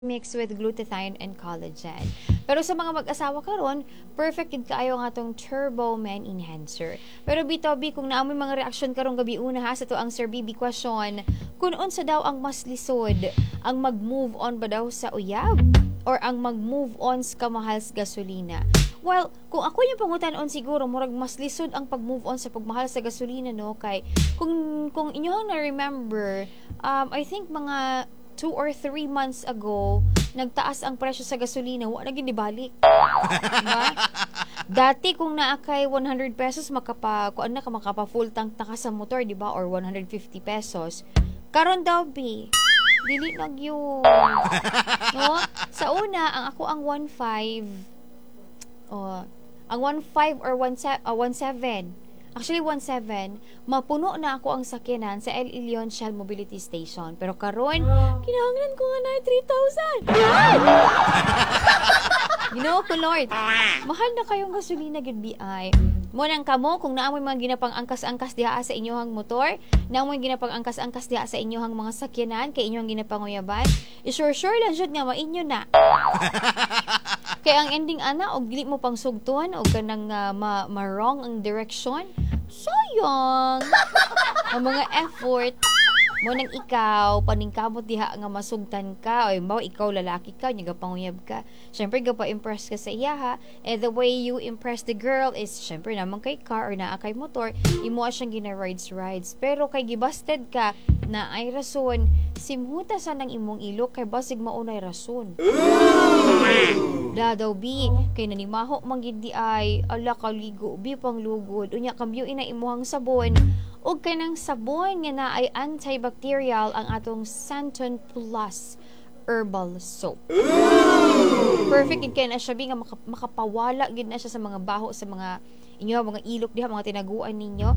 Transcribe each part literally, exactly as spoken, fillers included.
mixed with glutathione and collagen. Pero sa mga mag-asawa karon, perfect gid kaayo ang atong Turbo Man Enhancer. Pero bitaw bi kung naa moy mga reaksyon karong gabi una ha sa atoang Sir B B question, kung unsa daw ang mas lisod, ang mag-move on ba daw sa uyab or ang mag-move on sa kamahal sa gasolina? Well, kung ako yung pangutan-on, siguro murag mas lisod ang pag-move on sa pagmahal sa gasolina, no, kay kung kung inyong na-remember, um, I think mga two or three months ago, nagtaas ang presyo sa gasolina, wa na gyud nibalik. Diba? Dati kung naa kay one hundred pesos, makapa kuan na ka, makapa full tank na ka sa motor, di ba? Or one hundred fifty pesos. Karon daw bi, dili na gyud. No? Sa una, ang ako ang one point five, oh, ang one point five or one point seven, uh, one point seven. Actually, one point seven, mapuno na ako ang sakyanan sa El Ilion Shell Mobility Station. Pero karon, kinahanglan ko nga na three thousand. Ginoo ko Lord. Mahal na kayong gasolina gud B I. Mao nang kamo, kung naa moy mga ginapang angkas-angkas diha sa inyong motor, naa moy ginapang angkas-angkas diha sa inyong mga sakyanan kay inyong ginapanguyaban, i-sure-sure lang jud nga mainyo na. Kay ang ending ana og dili mo pang sugton og kanang uh, ma, ma-wrong ang direction, sayang ang mga effort. Mao nang ikaw, paningkamot diha nga masugtan ka. O mo ikaw lalaki ka, nya gapanguyab ka. Syempre gapa-impress ka sa iya ha. And the way you impress the girl is syempre naman kay car or naa kay motor, imo siyang gina rides rides. Pero kay gibasted ka na ay rason, simhuta sa nang imong ilok kay basig maunay rason. Da daw bi, kay nanimaho man gid di ay, ala kaligo bi panglugod. Unya kambyo ina imuhang sabon ug kanang sabon nga na ay antibacterial, ang atong Santon Plus Herbal Soap. Perfect gid kay na siya bi nga maka, makapawala gid na siya sa mga baho sa mga inyo mga ilok diha, mga tinaguan ninyo.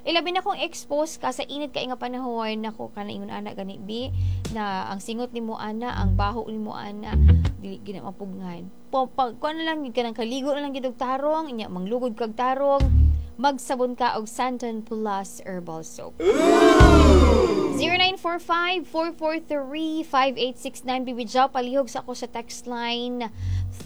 Ilabi na kung expose ka sa init kay nga panahon, nako, kana ingon ana gani bi na ang singot nimo ana, ang baho nimo ana, dili gid na mapugnan. Po pag kuan na lang gid kanang kaligo na lang gid og tarong, inya manglugod kag tarong, magsabon ka og Santon Plus Herbal Soap. zero nine four five, four four three, five eight six nine. Bibi Jaw, palihog sa ako sa text line.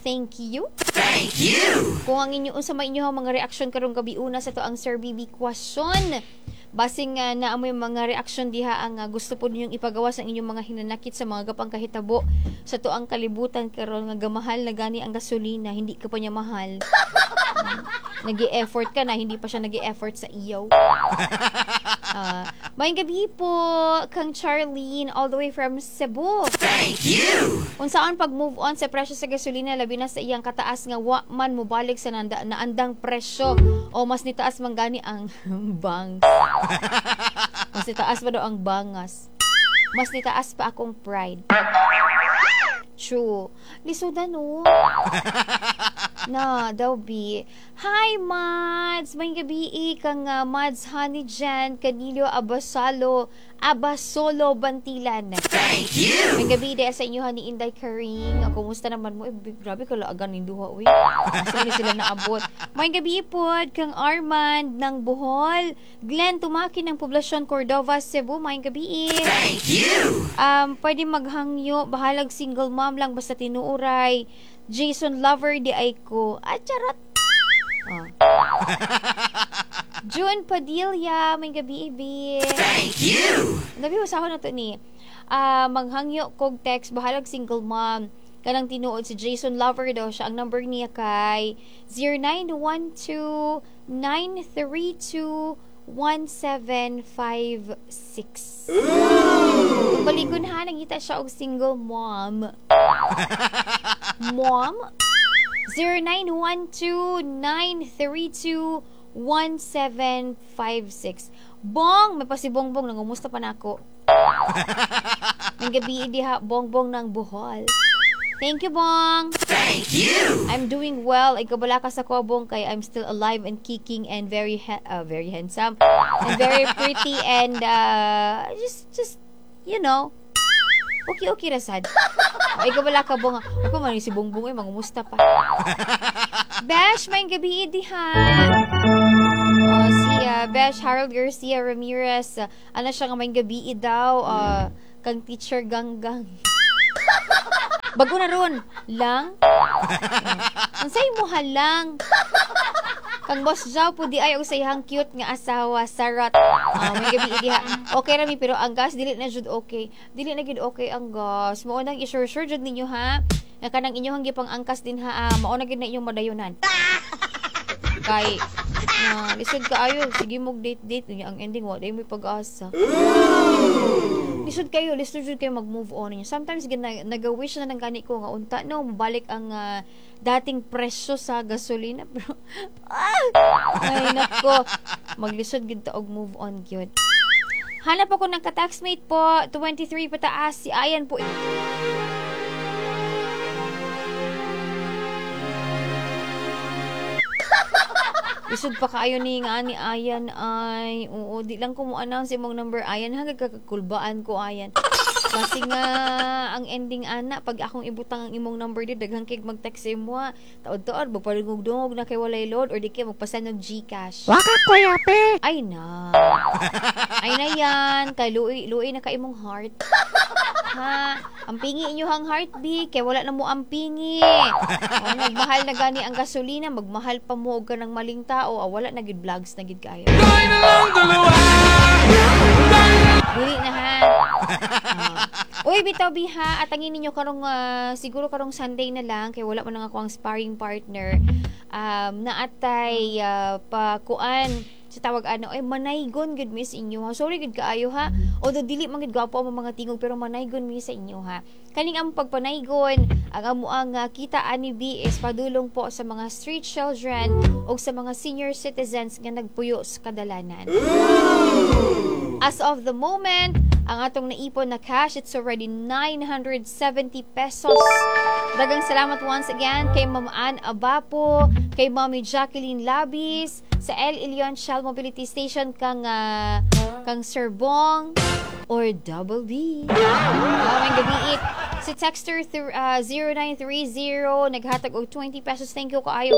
Thank you. Thank you. Kung ang inyo unsa may inyo mga reaksyon karong gabi una sa atoang Sir B B question. Basing uh, naa moy mga reaksyon diha ang uh, gusto po ninyong ipagawa sa inyong mga hinanakit sa mga gapang kahitabo sa atoang kalibutan karon nga gamahal na gani ang gasolina, hindi ka pa niya mahal. Nagi-effort ka na, hindi pa siya nagi-effort sa iyo. Uh, Maayong gabi po kang Charlene all the way from Cebu. Thank you. Unsaon pag move on sa presyo sa gasolina, labi na sa iyang kataas nga wa man mobalik sa nanda, naandang presyo o mas nitaas man gani ang bangs. Mas nitaas pa daw ang bangas. Mas nitaas pa akong pride. True. Lisudan no. Na, daw bi. Hi, Mads! Maayong gabi kang uh, Mads Honey Jan Canilio Abasalo Abasolo Bantilan. Thank you. Maayong gabi diha sa inyo ni Inday Karing. Kumusta naman mo? Eh, grabe ka laagan ning duha uy. Asa ni sila naabot? Maayong gabi pod kang Armand ng Bohol. Glenn Tumaki ng Poblasyon Cordova, Cebu. Maayong gabi. Thank you. Um, pwede maghangyo, bahalag single mom lang basta tinuuray. Jason Lover di ay ko. Ah, charot. Oh. June Padilla, maayong gabi, ibi. Thank you. Nabi, usahon na to ni. Ah, maghangyo kog text, bahalag single mom. Kanang tinuod si Jason Lover daw siya. Ang number niya kay zero nine one two, nine three two, one seven five six. Kung baligon ha, nangita siya og single mom. Mom? zero nine one two, nine three two, one seven five six. Bong! May pasibongbong. Nangumusta pa na ako. Maayong gabi diha, Bongbong ng Bohol. Thank you, Bong. Thank you. I'm doing well. Ay kabala ka sa ko, Bong, kay I'm still alive and kicking and very ha- uh, very handsome and very pretty and uh, just just you know okay okay ra sad. Ay kabala ka, Bong. Ay pa man si Bongbong ay mangumusta pa. Besh, maayong gabi diha. Oh, si uh, Besh Harold Garcia Ramirez, uh, ano siya nga maayong gabi daw uh, kang Teacher Ganggang. Bago na ron. Lang? Oh. Unsay mo lang? Kang Boss Jow po di ay og sa iyang cute nga asawa, Sarat. Ah, maayong gabii diha. Okay ra mi, pero ang gas dili na jud okay. Dili na gid okay ang gas. Mao nang i-sure-sure jud ninyo ha. Nga kanang inyong gipang angkas din ha. Ah, mao na gid na inyong madayunan. Kay na lisod kaayo, sige mo date date niya, ang ending wa day mo pag-asa. Lisod kayo, lisod jud kayo mag-move on niya. Sometimes gid na, naga-wish na lang gani ko nga unta no mabalik ang ah, dating presyo sa gasolina, pero ah, ay nako, maglisod gid ta og move on gyud. Hanap ako ng ka-taxmate po, twenty-three pataas, si Ayan po. Lisod pa kaayo ni nga ni Ayan ay. Oo, di lang ko mo announce imong number, Ayan, hanggang kakakulbaan ko, Ayan. Kasi nga ang ending ana, pag akong ibutang ang imong number di, daghang kay mag-text sa imo ha. Taod-taod magpadungog-dungog na kay walay load or di kay magpasend og GCash. Waka kuya pe. Ay na. Ay na yan, kay luoy luoy na ka imong heart. Ha, ang pingi inyohang heartbeat kay wala na mo ang pingi. Oh, nagmahal na gani ang gasolina, magmahal pa mo og kanang maling tao, ah, wala na gid, vlogs na gid kayo. Dili na ha. Ah. Uy, bitaw biha, atangin ninyo karong ah, siguro karong Sunday na lang kay wala man ang ako ang sparring partner. Um, naatay uh, pakuan sa tawag ano ay manaygon gud mi sa inyo ha. Sorry gud kaayo ha. Although dili man gud gwapo ang mga tingog, pero manaygon mi sa inyo ha. Kaning ang pagpanaygon, ang amo ang uh, kita ani B is padulong po sa mga street children o sa mga senior citizens nga nagpuyo sa kadalanan. As of the moment, ang atong naipon na cash, it's already nine hundred seventy pesos. Dagang salamat once again kay Ma'am Ann Abapo, kay Mommy Jacqueline Labis, sa El Ilion Shell Mobility Station, kang, ah, kang Sir Bong, or Double B. Maayong gabii. Si texter through, ah, zero nine three zero naghatag og twenty pesos. Thank you kaayo.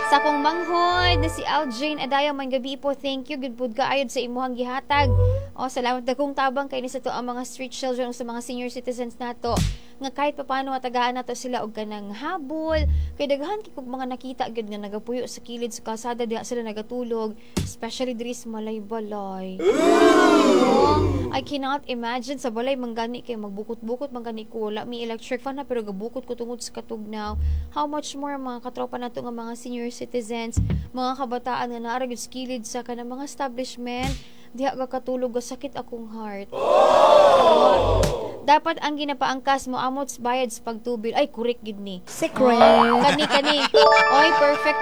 Sa akong manghod na si Aljane Adaya, maayong gabii po. Thank you. Good pud kaayo sa imuhang gihatag. O, salamat, dagkong tabang kay ni sa to ang mga street children o sa mga senior citizens nato nga kahit papaano matagaan nato sila og kanang habol kay daghan kay kog mga nakita gyud nga nagapuyo sa kilid sa kalsada, diha sila nagatulog, especially diri sa Malaybalay. Oh, I cannot imagine sa balay man gani kay magbukot-bukot man gani ko, wala mi electric fan na, pero gabukot ko tungod sa katugnaw. How much more ang mga katropa nato nga mga senior citizens, mga kabataan nga naa ra gyud sa kilid sa kanang mga establishment diha ga katulog, sakit akong heart. Dapat ang ginapaangkas mo amot sa bayad sa pagtubil. Ay, correct gid ni. Secret. Oh, kani kani. Oy, perfect.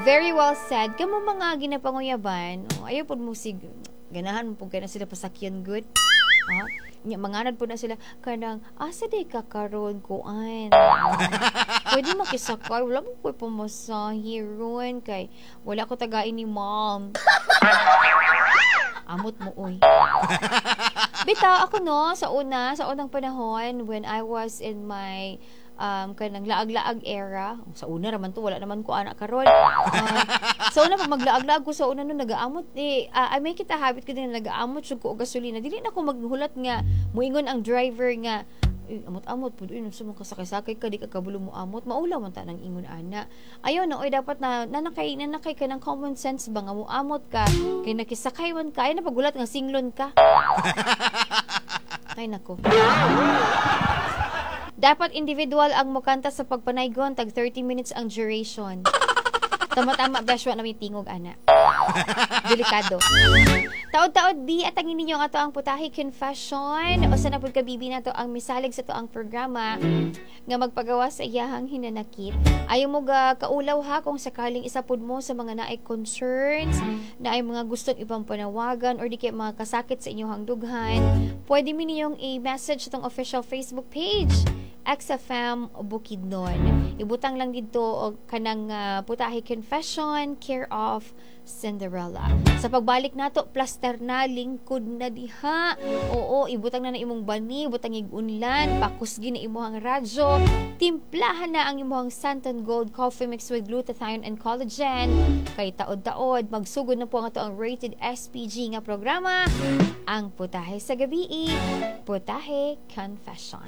Very well said. Kamo mga ginapanguyaban, oh, ayaw pod mo sig ganahan mo pud kay na sila pasakyan good. Ha? Nya manganad po na sila kanang asa day ka karon, kuan. Pwede makisakay, wala mo ko'y pamasahe ron kay wala ko tagain ni Mom. Amot mo oy. Bitaw ako no, sa una, sa unang panahon when I was in my um, kanang laag-laag era. Sa una raman to, wala naman ko anak karon. Uh, sa una pag maglaag-laag ko sa una no, nagaamot eh uh, I make it a habit ko din na nagaamot jud ko og gasolina. Dili na ko maghulat nga muingon ang driver nga, "Eh, amot-amot pud uy, sa mga kasakay-sakay ka, di ka kabulo mo amot." Maulaw man ta ng ingon ana. Ayaw na oy, dapat na nanakay nanakay ka ng common sense ba nga muamot ka kay nakisakay man ka. Ay na pagulat nga singlon ka. Ay nako. Dapat individual ang mukanta sa pagpanaygon, tag thirty minutes ang duration. Tama-tama, besh, wa na may tingog, ana. Delikado. Taod-taod, B, at ang ninyo ang ato ang Putahe Confession. O sa napud ka bibi na to ang misalig sa to ang programa nga magpagawa sa iyahang hinanakit. Ayaw mo ga kaulaw ha kung sakaling isa pud mo sa mga naay concerns, naay mga gustong ibang panawagan or di kay mga kasakit sa inyong dughan. Pwede mi ninyong i-message itong official Facebook page, X F M Bukidnon. Ibutang lang dito og kanang uh, Putahe Confession, care of Cinderella. Sa pagbalik nato, plaster na, lingkod na diha. Oo, ibutang na na imong bani, ibutang ig-unlan, pakusgi na imong radyo, timplahan na ang imong Santon Gold Coffee Mix with glutathione and collagen. Kay taod-taod, magsugod na po ang ato ang rated S P G nga programa, ang Putahe sa Gabii, Putahe Confession.